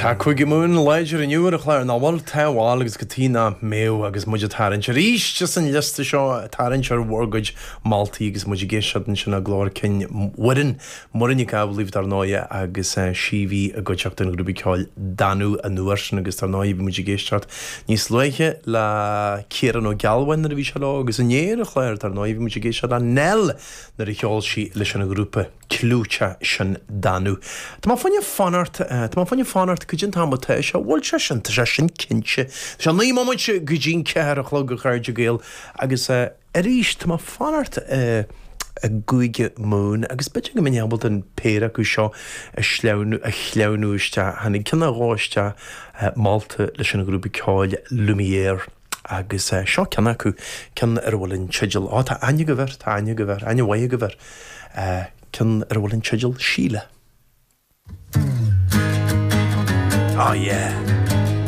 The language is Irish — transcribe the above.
Tá Cúige Mumhan láidir inniu ar an chlár, nach bhfuil? Tá, bhuel, agus cad chuige nach mbeadh agus muid ag tarraingt arís as an liosta seo, ag tarraingt ar bhur gcuid moltaí agus muid ag éisteacht ansin le glór cinn Mhuireann, Muireann Nic Amhlaoibh dar ndóighe agus sí a bhí i gcuideachta an ghrúpa ceoil Danú an uair sin agus dar ndóighe bhí muid ag éisteacht níos luaithe le Ciarán Ó Gealbháin nuair a bhí sé leo agus inné ar an chlár dar ndóighe bhí muid ag éisteacht le Nell nuair a cheol sí leis an ghrúpa. clúiteach sin Danú. Tá mé fá choinne fanacht, tá mé fá choinne fanacht go dtí an t-am atá sé, bhfuil sé sin, tá sé sin cinnte. Tá sé 9 mbomaite go dtí'n 4 a chlog a chairde Gael agus arís tá mé fanacht i gCúige Mumhan agus b'fhéidir go mbeinn ábalta an péire acu seo a shleamhnú, a shleamhnú isteach. Tháinig ceann nó dhó isteach molta leis an ghrúpa ceoil Lumière. Agus seo ceann acu, ceann ar a bhfuil an teideal, á, tá aithne agaibh air, tá aithne agaibh air, aithne mhaith agaibh air, ceann ar a bhfuil an teideal Síle. Oh yeah.